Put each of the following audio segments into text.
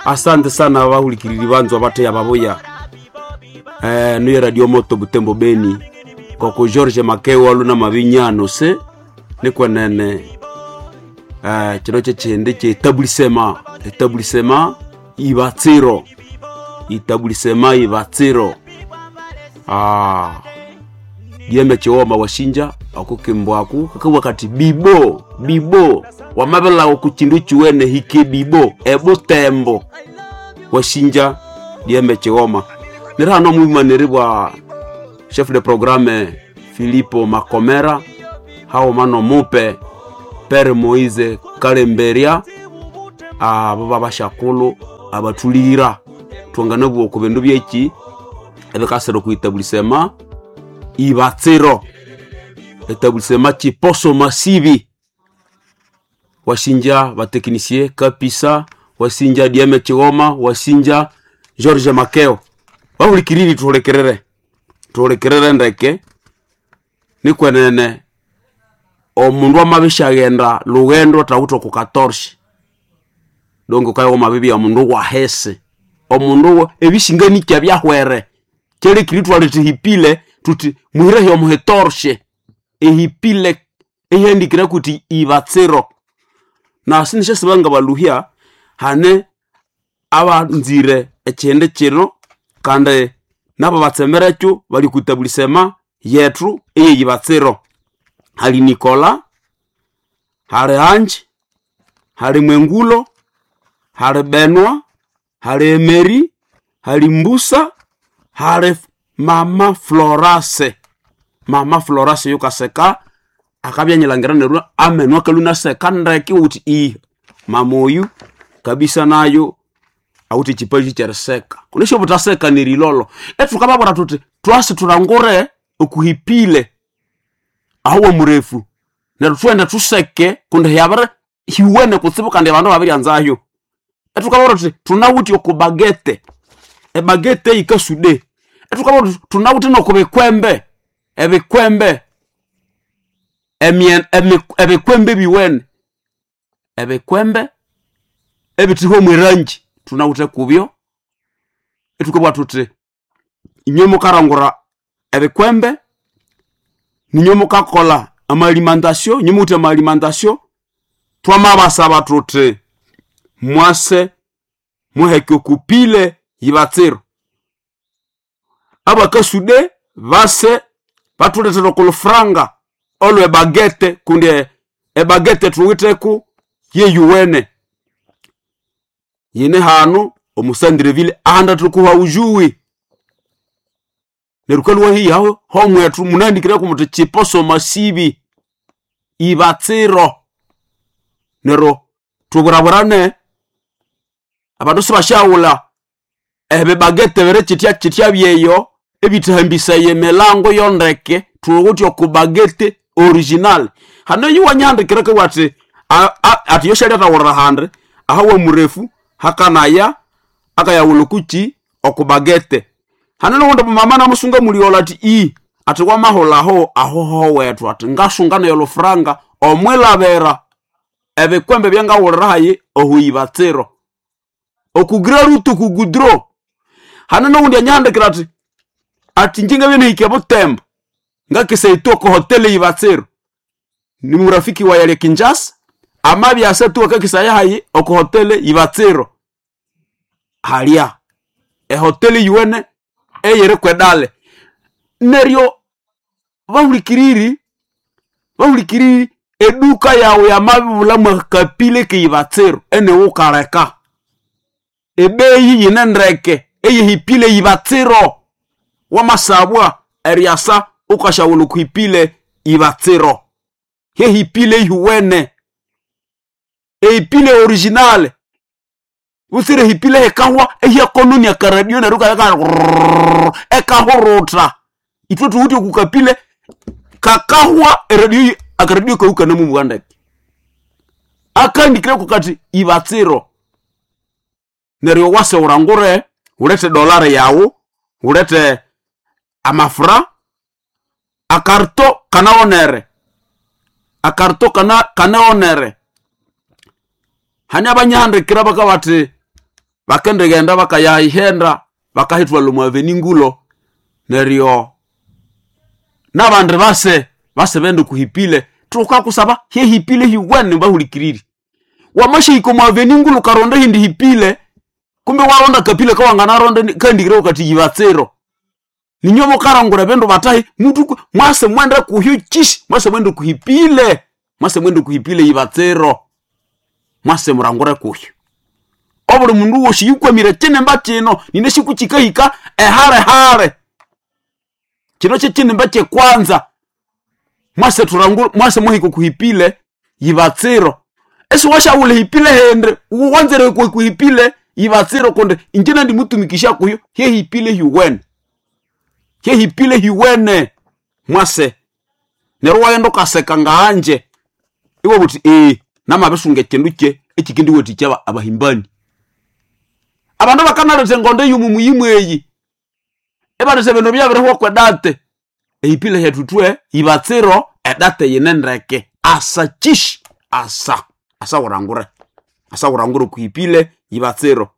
Asante sana bahulikiriri banzwa bateya babuya niyo radio moto Butembo Beni koko George Makeo aluna mabinyano se nikwenene kino kyekindi kyetabulisema etabulisema ibatsiro itabulisema ibatsiro dieme chiwoma washinja akukimbwaku kakabwa kati bibo bibo wamabelawo ku chindu chiwene hike bibo ebutembo washinja dieme chiwoma nirihano mwimaniri bwa chef de programme Filipo Makomera haoma nomupe Pere Moise Kalemberia abo babashakulu abatulira twangana ku bindu byeki ebikasira okuitabulisema ibatsiro etabulisema chiposo masibi wasinja bateknisie kapisa wasinja dieme chigoma wasinja George Makeo bahulikiriri tuhulikirire tuhulikirire ndeke nikwenene omundu amabishaghenda lughendo athawithe oku katorshi donge ukayogha omabibya omundu wahisi omundu ebishinganikya byahwere kyalekire ithwaleta ehipile thuthi muhirehi omuhitorshe ehipile eyihandikire kuti ibatsiro na sinishyasiba ngabaluhya hane abanzire ekyindi kino kandi nabo batsemerekyo bali okwitabulisa yethu eyeyibatsiro. Hali Nikola, hali Anji, hali Mwengulo, hali Benwa, hali Emeri, hali Mbusa, hali Mama Florase. Mama Florase yukaseka akabya nyilangira neryo amenu akalwa inaseka ndeke wuthi iya mama oyu kabisa nayo awithe ekipaji kyeriseka. Kunesha obuthaseka nerilolo. Ethukababwira thuthi thwasi thulangure okuhipile aho wamurefu neryo thughende thuseke kundi hyabiri hiwene kutsibu kandi abandu babiryanzayo. Ethukababwira thuthi thunawithe oku bagete, ebagete yikasude. Ethukababwira thuthi thunawithe noku bikwembe, ebikwembe ebikwembe ebiwene, ebikwembe ebithihwa mwerangi thunawithe kubyo. Ithukabugha thuthi inywe mukarangura ebikwembe, ninywe mukakolha ama alimentation, inywe muwithe ama alimentation, thwamabasaba thuthi mwase muheke okupile yibatsiro. Abakasude base bathulethera okulufuranga olwe bagete kundi ebagete thuwitheku yeyuwene. Yine hanu omusandreville ahandi athukuha ujuwi. Neryo wukalhwa hihi aho homwethu munahandikireko muthi chiposo masibi ibatsiro. Neryo thuburaburane abandu sibasyaghulha ebibagete biri kyithya kyithya byeyo ebithahambisaya emilango yondeke thuwithe oku bagete original. Hane oyu wanyihandikira akabugha athi athi yosyalyathawulira handi aha wamurefu hakanaya akayaghulha okukyi oku bagete. Hane noghundi mumama namusunga muligholho athi iya athi wamahulha aho aho howethu athi ngasunga nayi olufuranga omwilabira ebikwembe ebyangaghulira hayi ohu ibatsiro. Okugira rutu kugudro. Hane noghundi anyihandikira athi athi ingye ngabya inahika ebutembo ngakisayithwa oko hoteli ibatsiro. Ni murafiki wayi alya Kinshasa amabya asa tu akakisaya hayi oko hoteli ibatsiro. Halya ehoteli yuwene eyiri kwedale. Neryo bahulikiriri bahulikiriri eduka yawu yamabibulha mwakapile keyibatsiro eniwukaleka. Ebeyi yine ndeke eyihipile ibatsiro. Wamasabwa eryasa wukasyawulha okuhipile ibatsiro. Hyehipile yuwene ehipile original butsira ehipile ehikahwa ehyakononia akaradio neryo ikabya ekahurutha. Ithwe thuwithe okukapile kakahwa eradio akaradio kawu ikanamubuwa ndeke. Akahandikireko kathi ibatsiro. Neryo wase wulangure wulhethe dollar yawu, wulhethe amafura, akarito kanaghonere, akarito kanaghonere. Hani abanyahandikira bakabati bakendighenda bakayahenda bakahithwala omu aveni ngulo neryo n'abandi base base bende kuhipile tukakusaba hyehipile hiwene bahulikiriri. Wamashahika omu aveni ngulu ukaronda ehindi hipile kumbe waronda kapile kawanganaronda kahendikireho kati yibatsiro. Ninyo mukarangura ebindu batahi mutu mwase mwende kuhyo kishi mwase mwende kuhipile mwase mwende kuhipile yibatsiro mwase murangure kuhyo. Obuli mundu wosi yukwamire kinimba kino nine sikukikahika ehale hale kino kyekinimba kyekwanza mwase turangure mwase muhike kuhipile yibatsiro. Esiwashaghulha ehipile hindi wanzire kuhipile yibatsiro kundi inje nandimutumikisha kuyo hyehipile hyuwene hyehipile hyuwene mwase neryo waghenda ukaseka ngahanje iwabugha uthi namabisunga ekindu kye ekikendiwathikya abahimbani. Abandu bakanaletha engondo ey'omu muyimu eyi ibaletha ebindu ebyabirihwa kwedate ehipile hyethu ithwe yibatsiro edate yine ndeke asa kyishi asa asa wurangure asa wurangure okuhipile yibatsiro.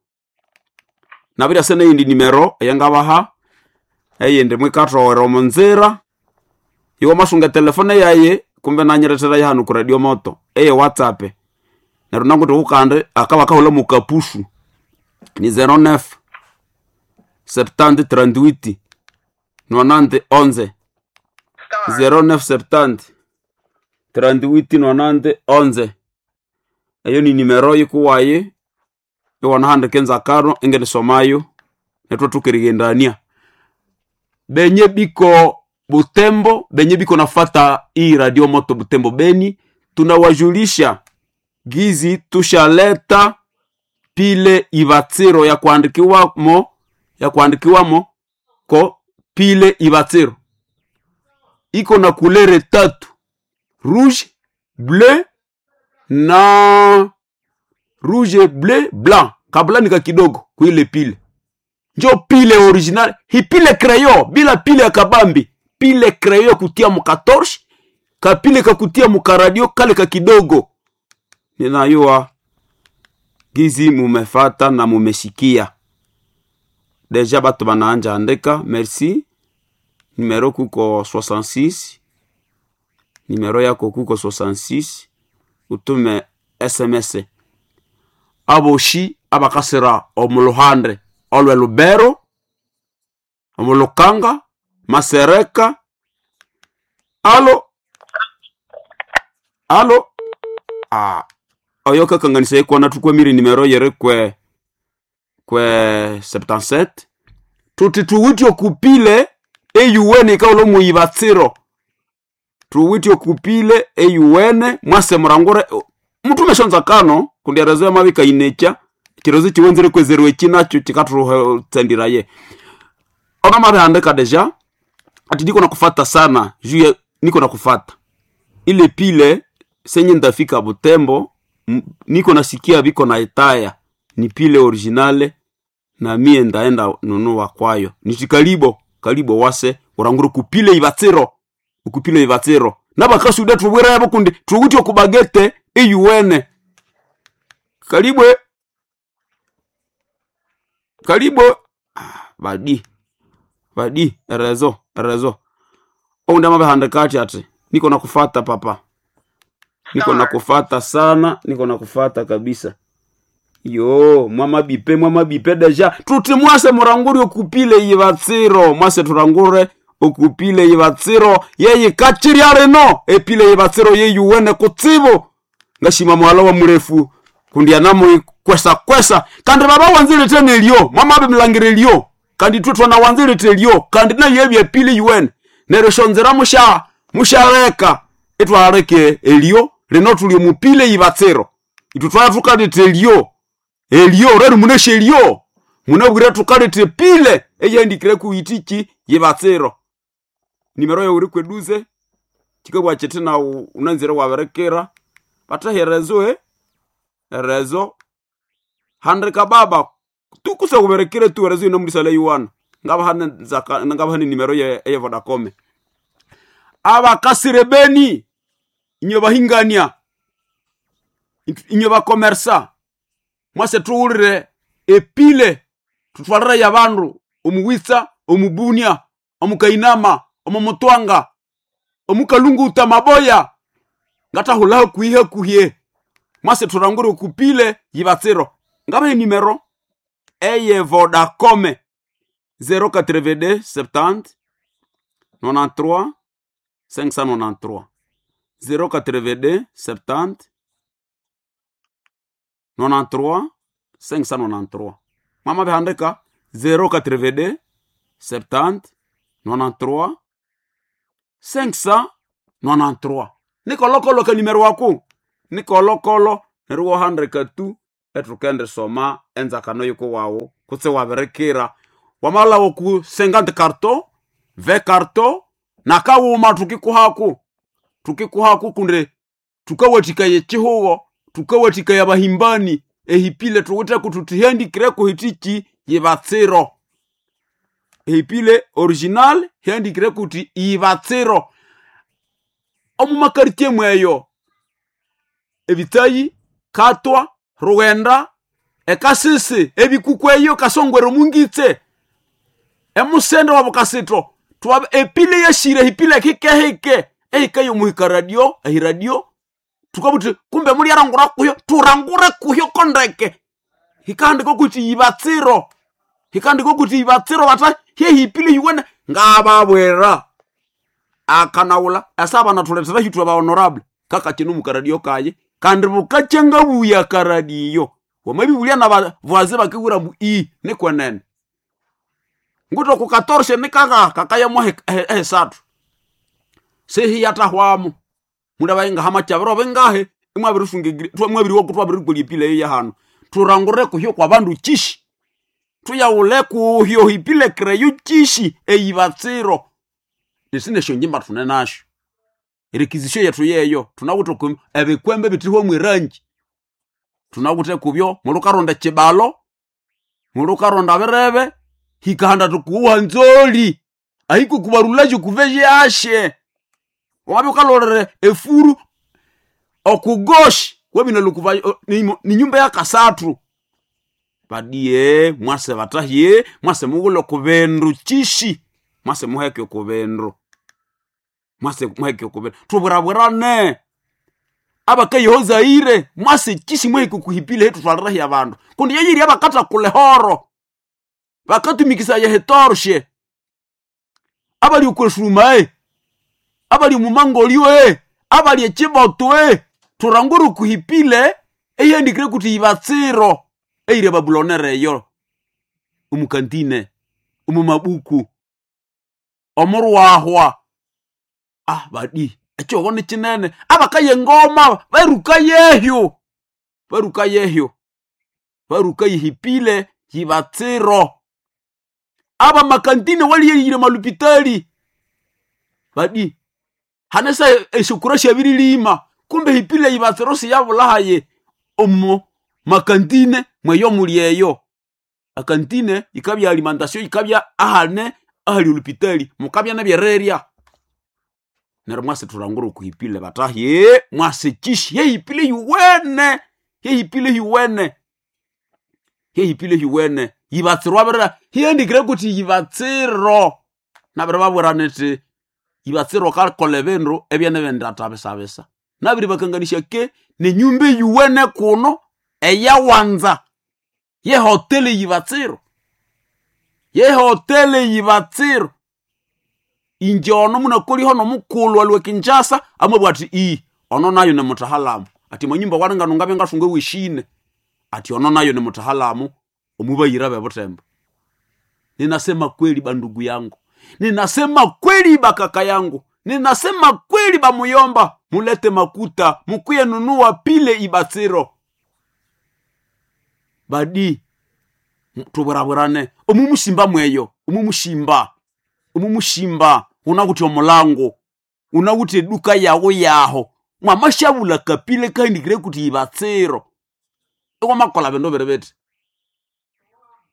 Nabiryasa neyindi nimero eyangabaha eyindi mwikathoghera omo nzira iwamasunga etelefone yayi kumbe nanyirethera hanu ku radio moto eye whatsapp neryo nanguthi kukandi akabakahulha mukapusu ni 09 70 38 90 11 09 70 38 90 11 eyo ni nimero yikuwayi iwanahandika enzakano ingenisomayo netwathukirighendania. Benye biko Butembo, benye biko nafata hii radio moto Butembo Beni, tunawajulisha gizi tushaleta pile ibatsiro ya kuandikiwamo ya kuandikiwamo ko pile ibatsiro iko na kulere tatu rouge bleu na rouge bleu blanc kabla nika kidogo kuile pile njo pile original hipile crayon bila pile ya kabambi pile crayon kutia mukatorche kapile kakutia mukaradio kale ka kidogo. Ninayua gizi mumefata na mumesikia deja batu banaanja andika merci. Numero kuko 66 numero yako kuko 66 utume sms aboshi abakasira omuluhande olwe Lubero omulukanga Masereka alo alo oyo kakanganisa ikwana tukwamire nimero yere kwe kwe 77 tuti tuwitye okupile eyuwene ikawula omuyibatsiro tuwitye okupile eyuwene mwase murangure mutume shonzakano kundi erezo yamabika inekya ekirozo kiwenzere kwezerwa eki nakyo kikathutsandiraye onamabihandika deja ati niko nakufata sana juu niko nakufata ile pile senye ndafika Butembo niko nasikia biko na itaya ni pile originale na mie ndaenda nunua kwayo nichikalibo kalibo wase uranguru kupile ibatsiro ukupile ibatsiro nabakasuda tubwira yabo kundi tuwutye okubagete eyuwene kalibwe kalibo badi badi erezo erezo oundi amabihandika ati ati niko nakufata papa niko nakufata sana niko nakufata kabisa yo mwamabipe mwamabipe deja tuti mwase murangure okupile yibatsiro mwase turangure okupile yibatsiro yeyikachirya rino epile yibatsiro yeyuwene kutsibu ngashima mwala wa murefu kundi anamuikwesa kwesa kandi baba wanzilete nelyo mwamabe mlangire lyo kandi twe twanawanzilete lyo kandi nayo epile yuwene neryo shonzera musha mushaleka itwaleke elyo lino tuli mupile yibatsiro itu twatukalete elyo elyo rero munesha elyo munabwire tukalete pile eyandikire kuitiki yibatsiro nimero yawe kweduze chikabwa chete na unanzire waberekera bataherezo erezo handika baba tukusa kuberekere tu erezo ino mulisala yuwana ngabahane nzaka ngabahane nimero ye ye Vodacom abakasire beni inyo bahingania inyo bakomersa Mwase tuwulire epile tutwalire yabandu omuwitsa, omubunia, omukainama, omumutwanga, omukalunguta maboya ngatahula hakuhi hakuhye. Mwase turangure okupile yibatsiro. Ngabahe nimero eye Vodacom 082 70 93 593 082 70 93 593. Mama bihandika 082 70 93 593. Nikolokolo kanimero wako nikolokolo neryo wahandika tu etukende soma enzakano yuko wawu kutse wabirikira wamalawo ku 50 carton 20 carton nakawuma tukikuhaku tukikuhaku kunde tukawathikaya ekihugo tukawathikaya abahimbani ehipile tuwitheko tuthihandikireko hitiki yibatsiro ehipile original hiandikireko huthi ibatsiro omumakaritie mweyo ebitsayi katwa rughenda ekasisi ebikuku eyo kasongwere omungitse emusende wabukasitho twa epile yashire hipile hikehike ehika yomuhika radio ehiradio tukabuthi kumbe mulyarangura kuyo turangure kuyo kondeke hikahandika kuti yibatsiro hikahandika kuti yibatsiro bata hyehipile hiwene ngababwera akanawula asa banathuletera hithu aba honorable kakachino mukaradio kaye kandi bukachengabuya karadiyo wamabibulya na bavaze bakibwira mbu i nikwenene nguto kukatorshe nikaka kakayamo ehesathu sehiyatahwamo mundu abayingaha chabiro bingahe imwabiriwaku twabirikolya ipila eyo yahano turangure kuhyo kwa bandu chishi tuyawule kuhyo ipile kreyo chishi eyibatsiro nesinesyo njimba tune nasyo erikizisyo yethu yeyo tunawithe ku ebikwembe bithihwa mwirangi tunawithe kubyo mulukaronda ekibalo mulukaronda birebe hikahanda tukuwa nzoli ahiko kubarulaje kuveje ashe wabya ukalolere efuru okugoshi wabina lukuva ni nyumba ya kasathu badie mwase batahye mwase mughule okubendu chishi mwase muheke okubendu mwase muheke okubendu tubwirabwirane abakayehozaire mwase chishi muheke okuhipile hetu twalirahi abandu kundi yeyiri abakathakula ehoro bakatumikisaya hetorshe abali okwesuma abali omumangolyo abali ekiboto turangure okuhipile eyihandikire kuti yibatsiro eyiri ababulonere eyo omukantine omumabuku omurwahwa ah badi ekyogo nikinene abakaye engoma baruka yehyo baruka yehyo baruka yihipile yibatsiro abamakantine waliyeyire malupitali badi hanesa eshokura syabirilima kumbe hipile yibatsiro siyabulahaye omo makantine mweyo muli eyo akantine ikabya alimentation ikabya ahane ahali olupitali mukabya nebyererya neryo mwase thulangura okuhipile batahye mwase kishi yehipile yuwene yehipile yuwene yehipile yuwene yibatsiro abirira hiandikire kuti yibatsiro nabiri babwira niti yibatsiro kakola ebindu ebyene bindathabisabisa nabiri bakanganisya ke nenyumba eyuwene kuno eyawanza yehoteli yibatsiro yehoteli yibatsiro inje ono munakoliho nomukulhu alwe Kinshasa amabwa athi i ono nayo nimutahalamu ati manyumba waringano ngabya ngasunga weshine ati ono nayo nimutahalamu omubayira bebutembo. Ninasema kweli bandugu yangu, ninasema kweli bakaka yangu, ninasema kweli bamuyomba, mulete makuta mukuye nunua pile ibatsiro badi tubwirabwirane omumusimba mweyo omumusimba omumusimba unakuthi omulango unakuthi eduka yawo yaho mwamashabula kapile kaindikire kuti ibatsiro iwamakola bindu biri biti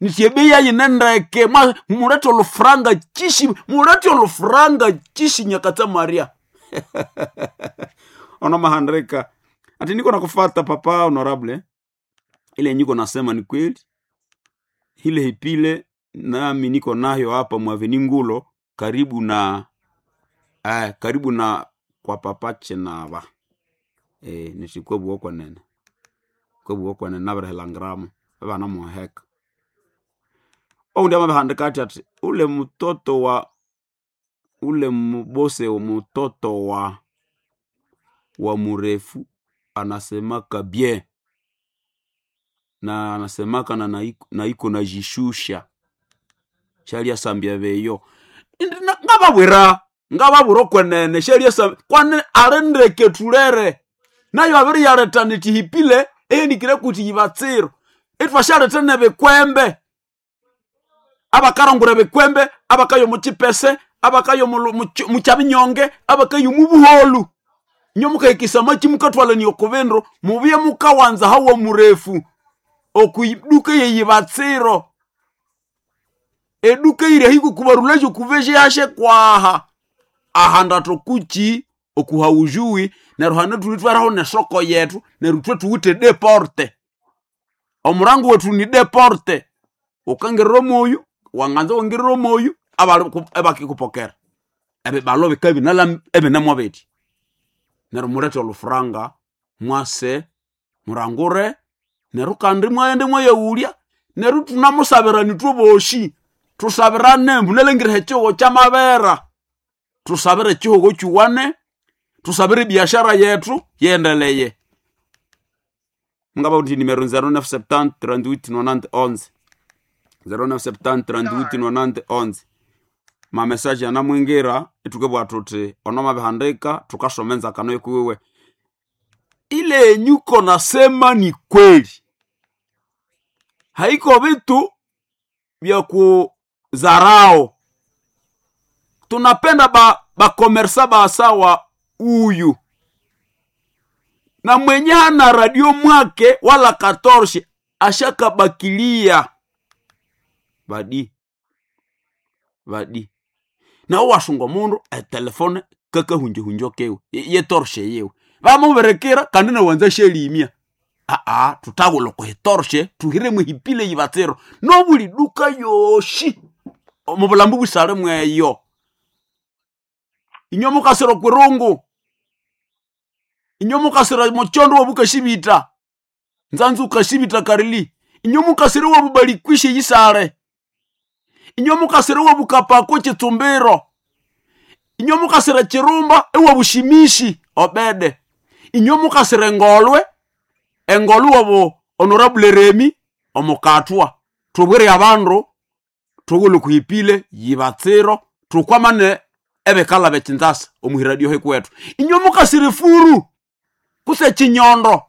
nithi ebeyi yayine ndeke mulete olufuranga chishi mulete olufuranga chishi nyakatsa maria ono mahandika ati niko nakufata papa honorable. Ile niko nasema ni kweli, ile hipile nami niko nayo hapa mwaveni Ngulo karibu na karibu na kwa papa Chenava nishikwebuwa kwenene kwebuwa kwenene nabirihilangiramo abana muheka oundi amabihandika ati ati ule mtoto wa ule mbose mtoto wa murefu anasemaka bien na anasemaka na naiko najishusha shaliasambya beyo ngababwira ngababwira okwenene shaliasambya kwane alindeke thulere nayo abiriyaleta nithihipile ehendikire kuti yibatsiro ithwashaleta nebikwembe abakarangura ebikwembe abakaya omuchipese abakaya mukyabinyonge abakaya omubuholu inyo mukahikisa amaki mukathwalania okubindu mubye mukawanza hawa murefu okwiduka yeyibatsiro eduka iri ahiko kubarulajo kuveje kwaha ahanda tokuchi okuhaujui neryo hane thulithweraho nesoko yethu neryo ithwe thuwithe deporte omurango wethu ni deporte ukangirira omoyu wanganza wangirira omoyu abali ebakikupokera ebibalo bikabinala ebinemo bithi neryo mulethe olufuranga mwase murangure neryo kandi mwaghende mwayaghulya neryo thunamusabirana ithwe bosi thusabirane mbu nalengire ekyihugho kyamabera thusabire ekyihugho kyiwane thusabire ebiashara yethu yendeleye mungaba uthi nimero 0970 38 90 11 0970 38 90 11 mamesaje anamwingira ithukebwa thuthi ono mabihandika thukasoma enzakano yikuwiwe ile yenyuko nasema ni kweli haiko vitu vya kuzarao tunapenda bakomersa ba basawa uyu na mwenye hana radio mwake wala katorshi ashakabakilia badi badi nawe wasunga omundu etelefone kakahunjahunja kewe yetorshe yewe vamuberekera kandi nawanza shelimia aa tutawula okuhitorshe tuhiremu hipile yibatsiro nobuli duka yoshi omubulambu busale mweyo inywe mukasira okwirungu inywe mukasira muchondo wobukashibita nzanzu ukashibita karili inywe mukasira wobubalikwishe yisale inywe mukasira wobukapako chitsumbiro inywe mukasira chirumba ewobushimishi obede inywe mukasira engolwe engolwe wobu honorable Remi omukathwa thubwire abandu thughulhe kuhipile yibatsiro thukwamane ebikala bekinzasa omuhiradio hekuwethu inywe mukasira efuru kuse ekinyondo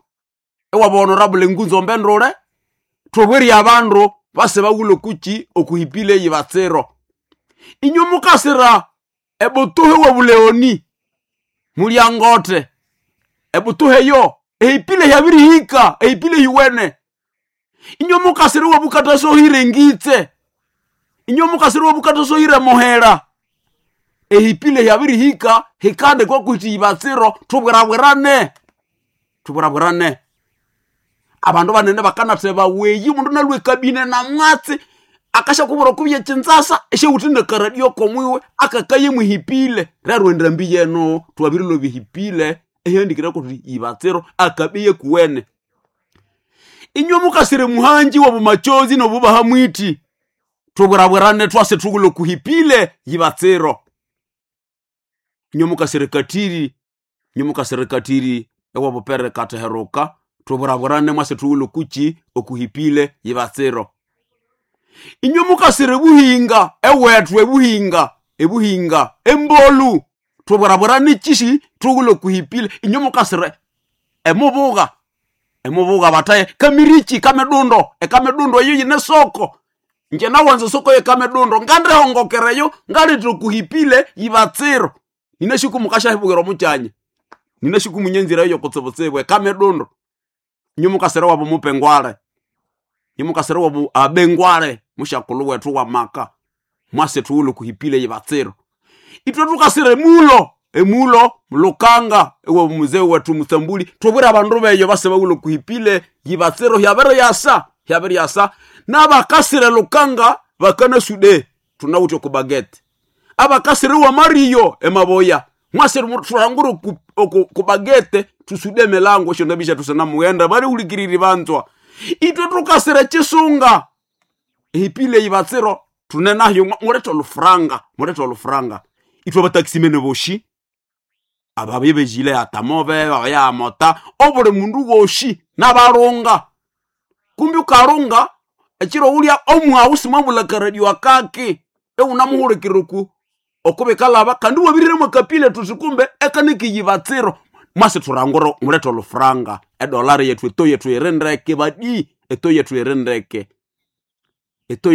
ewaba honorable Ngunzo Mbendule thubwire abandu base baghulhe kuki okuhipile yibatsiro inywe mukasira ebutuhe wobuleoni mulyangote ebutuhe yo ehipile hyabirihika ehipile hiwene inywe mukasira wobukatasohire ngitse inywe mukasira wobukatasohire muhera ehipile hyabirihika hikande kwakuthi yibatsiro thubwirabwirane thubwirabwirane abandu banene bakanatheba weyi omundu nalwa ekabine namwatsi akashakubwira okubya ekinzasa esyawuthi nakaradio komwiwe akakaye muhipile rero endambi yeno thwabirilwa hipile ehyandikire kuthi yibatsiro akabiye kuwene inywe mukasire muhanji wobumachozi nobubaha mwiti thubwirabwirane twase thughulhe kuhipile yibatsiro inywe mukasire katiri inywe mukasire katiri ewabupere kateheruka thubwirabwirane mwase thughulhe kuki okuhipile yibatsiro inywe mukasire buhinga ewethu ebuhinga ebuhinga embolu thubwirabwirane kisi thughulhe kuhipile inywe mukasire emubuga emubuga bataye kamirichi kamedundo ekamedundo eyo yine soko nje nawanza soko yekamedundo ngandihongokereyo ngalithira kuhipile yibatsiro ninashiku mukashahibukira omukyanya ninashiku munyenzira eyo kutsibutsibu ekamedundo inywe mukasire wabu mupengwale inywe mukasire wabu abengwale mushakulhu wethu wa maka mwase thughulhe kuhipile yibatsiro ithwe thukasire mulo Emulo Lukanga, ewa muzee wetu Musambuli. Tubwire abandu beyo base bawulo kuhipile yibatsiro hyabere yasa, hyabere yasa. N'abakasire Lukanga bakana sude tunawuthe ku bagete. Abakasire wa Mario emaboya. Mwasire turangure ku, ku, ku bagete tusude melango esyo ndabisha tusana mughenda bali hulikiriri banzwa. Itwe tukasire chisunga ehipile yibatsiro tunenayo mulethe olufuranga, mulethe olufuranga. Itwe abatakisimene boshi ababibejile atamove abayamota obuli mundu woshi n'abalunga. Kumbi ukalunga ekiro ulya omwawu simwabulha karadio akaki ewunamuhulikirira oku okubikalaba kandi wabirire mwakapile tuti kumbe ekanikiyibatsiro. Mwasi thurangura mulethe olufuranga edolari yethu eto yethu iri ndeke badi, eto yethu iri ndeke, eto.